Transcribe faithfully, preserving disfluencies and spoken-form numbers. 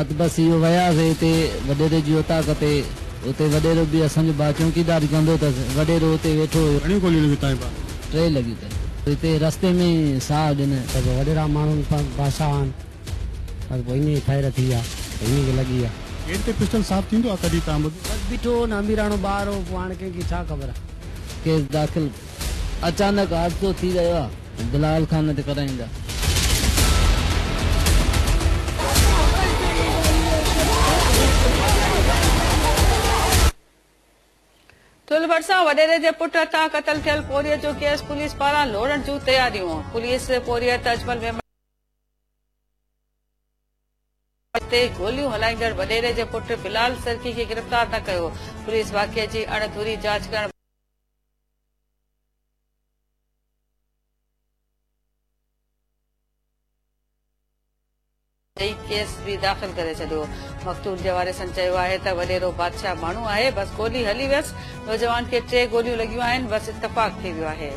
رات بس اهو وياسين هتي وڏيري جي اوطاق تي، اتي وڏيرو به اسان جو ڀاء چوڪيداري ڪندو اٿس، وڏيرو اتي ويٺو هيو. گهڻيون گوليون لڳيون توهان جي ڀاء؟ ٽي لڳيون اٿس. هتي رستي ۾ ئي ساهه ڏنه. ته پوءِ وڏيرا ماڻهو بادشاهه آهن، بس پوءِ ائين ئي فائر ٿي ويا، انهيءَ کي لڳي ويا. گيٽ تي پسٽل صاف ٿيندو آهي ڪڏهن توهان ٻڌو؟ بس بيٺو هو نه، اميراڻو ٻار هو، پوءِ هاڻي ڪنهن کي ڇا خبر آهي. ڪيس داخل اچانڪ حادثو ٿي رهيو آهي، بلال خان تي ڪرائيندا. ٺل ڀرسان وڏيري جي پٽ هٿان قتل ٿيل پورهيت جو ڪيس پوليس پاران لوڙڻ جون تياريون. پوليس پورهيت اجمل ميمڻ تي گوليون هلائيندڙ وڏيري جي پٽ بلال سرڪي کي گرفتار نه ڪيو. پوليس واقعي جي اڻڌوري جاچ ڪرڻ ڪيس به داخل ڪري ڇڏيو. مقتول جي وارثن چيو آهي ته وڏيرو بادشاهه ماڻهو آهي، بس گولي هلي ويس. نوجوان کي ٽي گوليون لڳيون آهن، بس اتفاق ٿي ويو آهي.